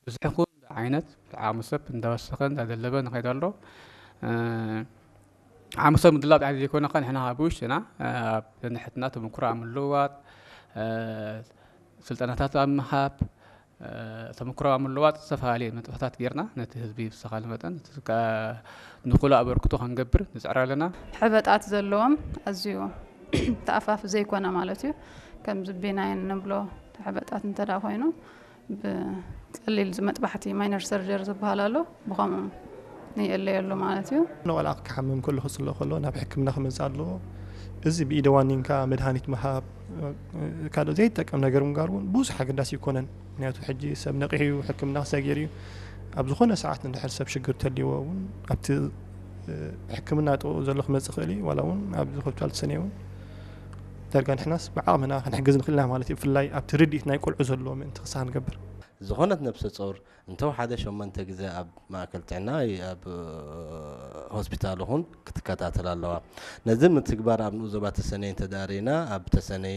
ብዝሒ ይኹን ዓይነት ዓቕሚ ሰብ እንዳወሰኸ እንዳደለበ ንኸይድ ኣሎ። ዓቕሚ ሰብ ምድላብ ጥራሕ ዘይኮነ ኸ ንሕና ብውሽጥና ኣብ ንሕትና ተመክሮ ኣብ ምልውዋጥ፣ ስልጠናታት ኣብ ምሃብ፣ ተመክሮ ኣብ ምልውዋጥ ዝተፈላለየ ንጥፈታት ጌርና ነቲ ህዝቢ ብዝተኻለ መጠን እቲ ከ-፣ ንኹሉ ኣበርክቶ ክንገብር ንጽዕር ኣለና። ሕበጣት ዘለዎም ኣዝዩ ተኣፋፊ ዘይኮነ ማለት እዩ። ከምዚ ቢናይን ንብሎ ሕበጣት እንተ ደኣ ኮይኑ ብቀሊል መጥባሕቲ ማይነር ሰርጀሪ ዝበሃል ኣሎ፣ ብኸምኡ ንየለየሉ ማለት እዩ። ንቆልዓ ክሓምም ከሎ ክጽሎ ከሎ ናብ ሕክምና ክመጽእ ኣለዎ። እዚ ብኢደ ዋኒንካ መድሃኒት ምሃብ፣ ካልእ ዘይጠቀም ነገር ምግባር እውን ብዙሕ ኣገዳሲ ኣይኮነን። ምክንያቱ ሕጂ ሰብ ነቂሑ እዩ፣ ሕክምና ክሰጊር እዩ። ኣብ ዝኾነ ሰዓት እንድሕር ሰብ ሽግር ተልይዎ እውን ኣብቲ ሕክምና ጥቕኡ ዘሎ ክመጽእ ይኽእል እዩ። ዋላ እውን ኣብዚ ሆስፒታል ተሰነይ እውን ዳርጋ ንሕናስ ብዓቕምና ክንሕግዝ ንኽእል ኢና ማለት እዩ። ብፍላይ ኣብቲ ርድኢት ናይ ቆልዑ ዘለዎ ምእንቲ ክሳብ ንገብር። ዝኾነት ነብሰ ጾር እንተወሓደ ሸሞንተ ግዜ ኣብ ማእከል ጥዕና ወይ ኣብ ሆስፒታል ይኹን ክትከታተል ኣለዋ። ነዚ ምትግባር ኣብ ንኡስ ዞባ ተሰነይ እንተዳሪና ኣብ ተሰነይ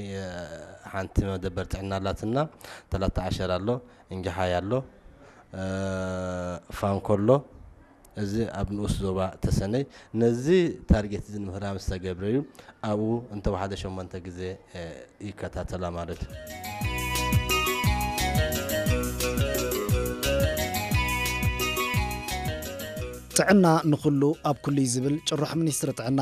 ሓንቲ መደበር ጥዕና ኣላትና፣ ተላታ ዓሸር ኣሎ፣ እንጃሓይ ኣሎ፣ ፋንኮሎ፣ እዚ ኣብ ንኡስ ዞባ ተሰነይ ነዚ ታርጌት እዚ ንምህራም ዝተገብረ እዩ። ኣብኡ እንተወሓደ ሸሞንተ ግዜ ይከታተላ ማለት እዩ። ጥዕና ንኹሉ ኣብ ኩሉ እዩ ዝብል ጭርሖ ሚኒስትሪ ጥዕና።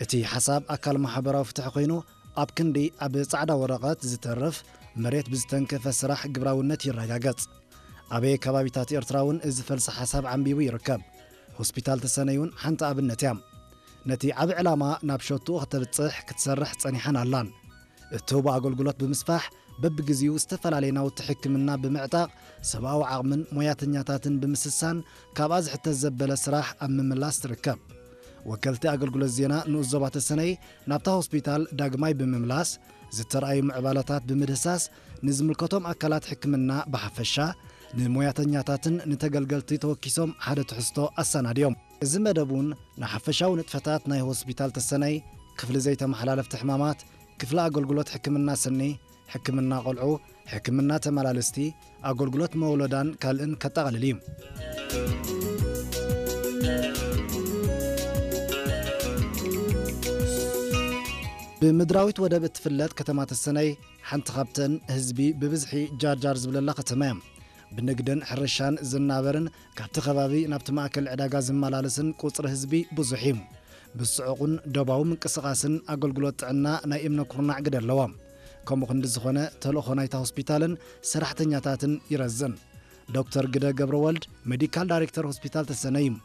እቲ ሓሳብ ኣካል ማሕበራዊ ፍትሒ ኮይኑ ኣብ ክንዲ ኣብ ጻዕዳ ወረቐት ዝተርፍ መሬት ብዝተንከፈ ስራሕ ግብራውነት ይረጋገጽ። ኣበየ ከባቢታት ኤርትራ እውን እዚ ፈልሲ ሓሳብ ዓንቢቡ ይርከብ። ሆስፒታል ተሰነይ እውን ሓንቲ ኣብነት እያ። ነቲ ዓቢ ዕላማ ናብ ሸትኡ ከተብጽሕ ክትሰርሕ ጸኒሓን ኣላን። እትህቦ ኣገልግሎት ብምስፋሕ በብግዜኡ ዝተፈላለየ ናውቲ ሕክምና ብምዕጣቕ ሰብኣዊ ዓቕምን ሞያተኛታትን ብምስሳን ካብኣ ዝሕተት ዘበለ ስራሕ ኣብ ምምላስ ትርከብ። ወከልቲ ኣገልግሎት ዜና ንኡስ ዞባ ተሰነይ ናብታ ሆስፒታል ዳግማይ ብምምላስ ዝተረኣዩ ምዕባለታት ብምድህሳስ ንዝምልከቶም ኣካላት ሕክምና ብሓፈሻ ንሞያተኛታትን ንተገልገልቲ ተወኪሶም ሓደ ትሕዝቶ ኣሰናድዮም። እዚ መደብ እውን ንሓፈሻዊ ንጥፈታት ናይ ሆስፒታል ተሰነይ፣ ክፍሊ ዘይተመሓላለፍቲ ሕማማት፣ ክፍሊ ኣገልግሎት ሕክምና ስኒ፣ ሕክምና ቆልዑ፣ ሕክምና ተመላልስቲ፣ ኣገልግሎት መወለዳን ካልእን ከጠቓልል እዩ። ብምድራዊት ወደብ እትፍለጥ ከተማ ተሰነይ ሓንቲ ካብተን ህዝቢ ብብዝሒ ጃርጃር ዝብለላ ከተማ እያ። ብንግድን ሕርሻን ዝናበርን ካብቲ ከባቢ ናብቲ ማእከል ዕዳጋ ዝመላለስን ቁጽሪ ህዝቢ ብዙሕ እዩ። ብጽዑቕን ዶባዊ ምንቅስቓስን ኣገልግሎት ጥዕና ናይ እምነ ኩርናዕ ግደ ኣለዎ። ከምኡ ክንዲ ዝኾነ ተልእኾ ናይታ ሆስፒታልን ሰራሕተኛታትን ይረዝን። ዶክተር ግደ ገብረወልድ ሜዲካል ዳይሬክተር ሆስፒታል ተሰነይ እዩ።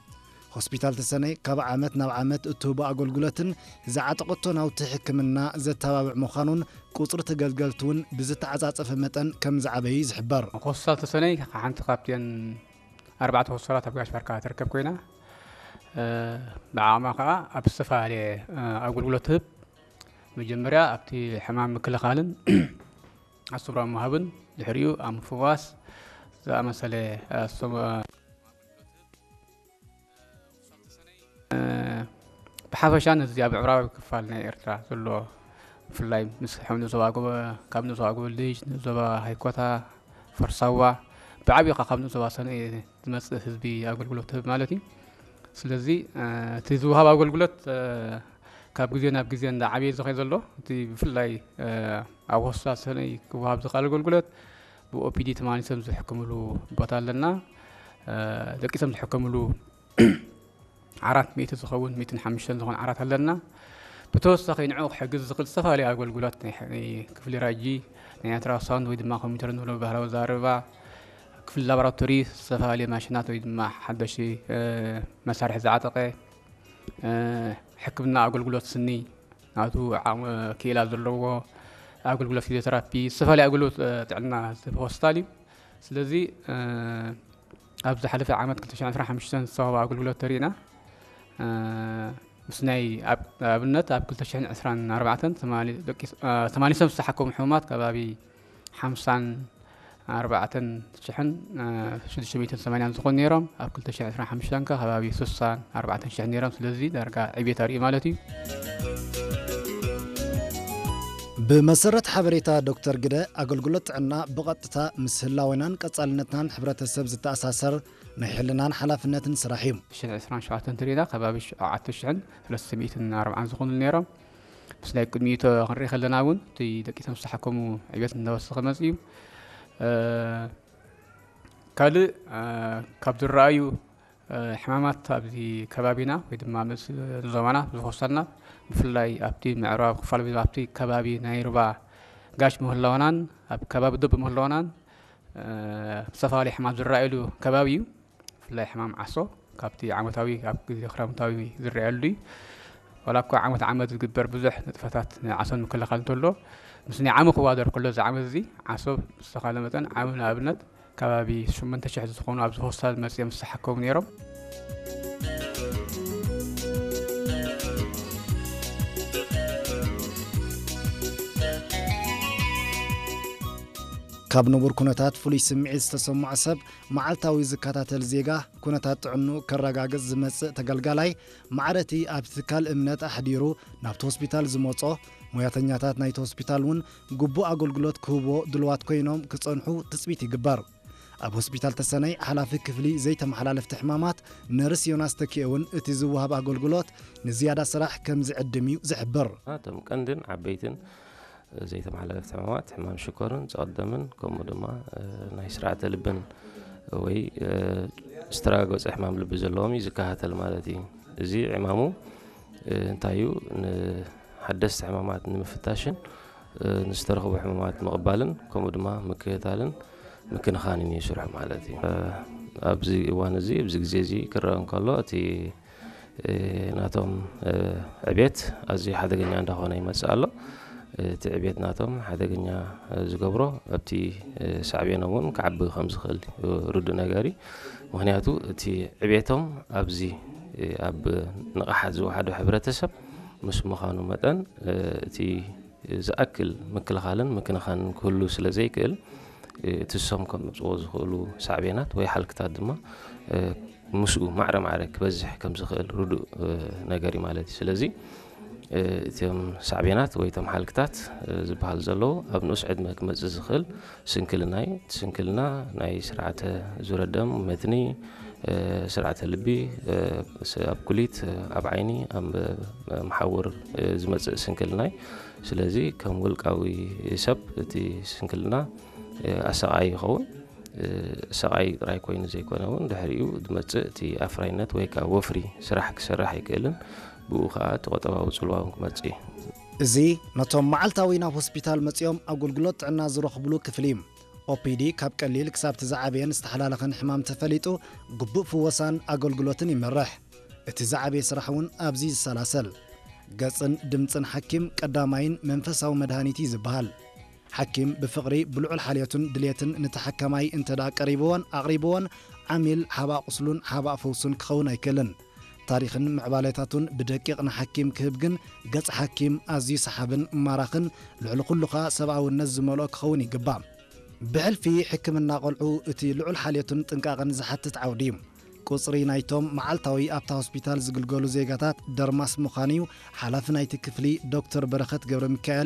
ሆስፒታል ተሰነይ ካብ ዓመት ናብ ዓመት እትህቦ ኣገልግሎትን ዝዓጠቐቶ ናውቲ ሕክምና ዘተባብዕ ምዃኑን ቁጽሪ ተገልገልቲ እውን ብዝተዓጻጸፈ መጠን ከም ዝዓበየ እዩ ዝሕበር። ሆስፒታል ተሰነይ ሓንቲ ካብተን ኣርባዕተ ሆስፒታላት ኣብ ጋሽ ባርካ ትርከብ ኮይና፣ እ፣ ብዓቕማ ከኣ ኣብ ዝተፈላለየ፣ እ፣ ኣገልግሎት ትህብ። መጀመርያ ኣብቲ ሕማም ምክልኻልን ኣስብራ ምሃብን ድሕሪኡ ኣብ ምፍዋስ ዝኣመሰለ፣ እ፣ ሶም-፣ እ፣ ብሓፈሻ ነዚ ኣብ ምዕራባዊ ክፋል ናይ ኤርትራ ዘሎ ብፍላይ ምስ ከም ንዞባ ጎበ-፣ ካብ ንዞባ ጎበልጅ፣ ንዞባ ሃይኮታ፣ ፈርሳዋ፣ ብዓብዩ ከኣ ካብ ንዞባ ሰነ ዝመጽእ ህዝቢ ኣገልግሎት ትህብ ማለት እዩ። ስለዚ፣ እ፣ እቲ ዝወሃብ ኣገልግሎት፣ እ፣ ካብ ግዜ ናብ ግዜ እንዳዓበየ ዝኸይ ዘሎ፣ እቲ ብፍላይ፣ እ፣ ኣብ ሆስፒታል ሰነይ ክወሃብ ዝኽእል ኣገልግሎት ብኦፒዲ ተመላሊሶም ዝሕክምሉ ቦታ ኣለና። እ፣ ደቂሶም ዝሕከምሉ ዓራት ሚእቲ ዝኸውን፣ ሚእትን ሓሙሽተን ዝኾን ዓራት ኣለና። ብተወሳኺ ንዕኡ ክሕግዝ ዝኽእል ዝተፈላለዩ ኣገልግሎት ናይ ሕ-፣ ናይ ክፍሊ ራጂ፣ ናይ ኣልትራሳውንድ ወይ ድማ ኮምፒውተር ንብሎ ባህላዊ ኣዘራርባ፣ ክፍሊ ላቦራቶሪ፣ ዝተፈላለዩ ማሽናት ወይ ድማ ሓደሽቲ፣ እ፣ መሳርሒ ዝዓጠቐ፣ እ፣ ሕክምና ኣገልግሎት ስኒ፣ ናቱ ዓቕሚ ክኢላ ዘለዎ ኣገልግሎት ፊዚዮቴራፒ፣ ዝተፈላለዩ ኣገልግሎት፣ እ፣ ጥዕና ዝህብ ሆስፒታል እዩ። ስለዚ፣ እ፣ ኣብ ዝሓለፈ ዓመት ክልተ ሽሕን ዕስራን ሓሙሽተን ዝተዋህበ ኣገልግሎት ተሪእና፣ እ፣ ምስ ናይ ኣብ-፣ ኣብነት ኣብ ክልተ ሽሕን ዕስራን ኣርባዕተን ተማሊ-፣ ደቂ-፣ እ፣ ተመሊሶም ዝተሓከሙ ሕሙማት ከባቢ ሓምሳን ኣርባዕተን ሽሕን፣ እ፣ ሽዱሽተ ሚእትን ሰማንያን ዝኾኑ ነይሮም። ኣብ ክልተ ሽሕን ዕስራን ሓሙሽተን ከ ከባቢ ስሳን ኣርባዕተን ሽሕን ነይሮም። ስለዚ ዳርጋ ዕብየት ኣርእዩ ማለት እዩ። ብመሰረት ሓበሬታ ዶክተር ግደ፣ ኣገልግሎት ጥዕና ብቐጥታ ምስ ህላወናን ቀጻልነትናን ሕብረተሰብ ዝተኣሳሰር ናይ ሕልናን ሓላፍነትን ስራሕ እዩ። ዕስራን ሸውዓተን እንተሪእና ከባቢ ሸውዓተ ሽሕን ሰለስተ ሚእትን ኣርባዓን ዝኾኑ ነይሮም። ምስ ናይ ቅድሚኡ ክንርኢ ከለና እውን እቲ ደቂቶም ዝተሓከሙ ዕቤት እናወሰኸ መፅእ እዩ። እ፣ ካልእ፣ እ፣ ካብ ዝረኣዩ፣ እ፣ ሕማማት ኣብዚ ከባቢና ወይ ድማ ምስ ዞባና ዝኸሰልና፣ ብፍላይ ኣብቲ ምዕራብ ክፋል ወይ ኣብቲ ከባቢ ናይ ሩባ ጋሽ ምህላውናን ኣብ ከባቢ ዶብ ምህላውናን፣ እ፣ ዝተፈላለዩ ሕማም ዝረኣየሉ ከባቢ እዩ። ብፍላይ ሕማም ዓሶ ካብቲ ዓመታዊ ኣብ ግዜ ክረምታዊ ዝረኣየሉ እዩ። ዋላ እኳ ዓመት ዓመት ዝግበር ብዙሕ ንጥፈታት ንዓሶ ንምክልኻል እንተሎ፣ ምስ ናይ ዓሚ ክዋደር ከሎ እዚ ዓመት እዚ ዓሶ ምስ ተኻለ መጠን ዓሚ ንኣብነት ከባቢ ሸሞንተ ሽሕ ዝኾኑ ኣብዚ ሆስፒታል መፅኦም ዝተሓከሙ ነይሮም። ካብ ንቡር ኩነታት ፍሉይ ስምዒት ዝተሰምዖ ሰብ፣ መዓልታዊ ዝከታተል ዜጋ፣ ኩነታት ጥዕንኡ ከረጋግጽ ዝመጽእ ተገልጋላይ፣ ማዕረቲ ኣብቲ ትካል እምነት ኣሕዲሩ ናብቲ ሆስፒታል ዝመጾ፣ ሞያተኛታት ናይቲ ሆስፒታል እውን ግቡእ ኣገልግሎት ክህብዎ ድልዋት ኮይኖም ክጸንሑ ትጽቢት ይግበር። ኣብ ሆስፒታል ተሰነይ ሓላፊ ክፍሊ ዘይተመሓላለፍቲ ሕማማት ነርስ ዮናስ ተኪኤ እውን እቲ ዝወሃብ ኣገልግሎት ንዝያዳ ስራሕ ከም ዝዕድም እዩ ዝሕብር። እቶም ቀንድን ዓበይትን ዘይተመሓላለፍቲ ሕማማት፣ ሕማም ሽኮርን ጸቕደምን፣ ከምኡ ድማ፣ እ፣ ናይ ስርዓተ ልብን ወይ፣ እ፣ ስትራጎፀ ሕማም ልቢ ዘለዎም እዩ ዝከታተል ማለት እዩ። እዚ ዕማሙ፣ እ፣ እንታይ እዩ? ንሓደስቲ ሕማማት ንምፍታሽን፣ እ፣ ንዝተረኽቡ ሕማማት ምቕባልን፣ ከምኡ ድማ ምክትታልን ምክንኻንን እዩ ስርሑ ማለት እዩ። እ፣ ኣብዚ እዋን እዚ፣ ኣብዚ ግዜ እዚ ክረአ እንከሎ፣ እቲ እ፣ ናቶም፣ እ፣ ዕቤት ኣዝዩ ሓደገኛ እንዳኾነ ይመጽእ ኣሎ። እቲ ዕቤት ናቶም ሓደገኛ፣ እ፣ ዝገብሮ ኣብቲ፣ እ፣ ሳዕቤኖም እውን ክዓቢ ከም ዝኽእል እዩ ርዱእ ነገር እዩ። ምኽንያቱ እቲ ዕቤቶም ኣብዚ፣ እ፣ ኣብ ንቕሓት ዝወሓዶ ሕብረተሰብ ምስ ምዃኑ መጠን፣ እ፣ እቲ ዝኣክል ምክልኻልን ምክንኻንን ክህሉ ስለ ዘይክእል፣ እ፣ እቲ እሶም ከምጽዎ ዝኽእሉ ሳዕቤናት ወይ ሓልክታት ድማ፣ እ፣ ምስኡ ማዕረ ማዕረ ክበዝሕ ከም ዝኽእል ርዱእ፣ እ፣ ነገር እዩ ማለት እዩ። ስለዚ፣ እ፣ እቶም ሳዕቤናት ወይ እቶም ሓልክታት፣ እ፣ ዝበሃል ዘለዉ ኣብ ንኡስ ዕድመ ክመጽእ ዝኽእል ስንክልና እዩ። እቲ ስንክልና ናይ ስርዓተ ዙረ ደም፣ መትኒ፣ እ፣ ስርዓተ ልቢ፣ እ፣ ስ-፣ ኣብ ኩሊት፣ እ፣ ኣብ ዓይኒ፣ ኣብ፣ እ፣ መሓውር፣ እ፣ ዝመጽእ ስንክልና እዩ። ስለዚ ከም ውልቃዊ ሰብ እቲ ስንክልና፣ እ፣ ኣሰቓዪ ይኸውን። እ፣ ሰቓይ ጥራይ ኮይኑ ዘይኮነ እውን ድሕሪኡ ዝመጽእ እቲ ኣፍራይነት ወይ ከኣ ወፍሪ ስራሕ ክሰርሕ ኣይክእልን። ብኡ ከኣ እቲ ቁጠባዊ ጽልዋ እውን ክመጽእ እዩ። እዚ ነቶም መዓልታዊ ናብ ሆስፒታል መጺኦም ኣገልግሎት ጥዕና ዝረኽብሉ ክፍሊ እዩ። ኦፒዲ ካብ ቀሊል ክሳብ እቲ ዝዓበየን ዝተሓላለኸን ሕማም ተፈሊጡ ግቡእ ፍወሳን ኣገልግሎትን ይመርሕ። እቲ ዝዓበየ ስራሕ እውን ኣብዚ ይሰላሰል። ገጽን ድምጽን ሓኪም ቀዳማይን መንፈሳዊ መድሃኒት እዩ ዝበሃል። ሓኪም ብፍቕሪ፣ ብልዑል ሓልዮትን ድልየትን ንተሓካማይ እንተ ደኣ ቀሪብዎን ኣቕሪብዎን፣ ዓሚል ሓባእ ቁስሉን ሓባእ ፈውሱን ክኸውን ኣይክእልን። ታሪኽን ምዕባለታቱን ብደቂቕ ንሓኪም ክህብ ግን፣ ገጽ ሓኪም ኣዝዩ ሰሓብን ማራኽን፣ ልዕሊ ኩሉ ኸኣ ሰብኣውነት ዝመልኦ ክኸውን ይግባእ። ብሕልፊ ሕክምና ቆልዑ፣ እቲ ልዑል ሓልዮትን ጥንቃቕን ዝሓትት ዓውዲ እዩ። ቁጽሪ ናይቶም መዓልታዊ ኣብታ ሆስፒታል ዝግልገሉ ዜጋታት ደርማስ ምዃኑ እዩ ሓላፊ ናይቲ ክፍሊ ዶክተር በረኸት ገብረ ሚካኤል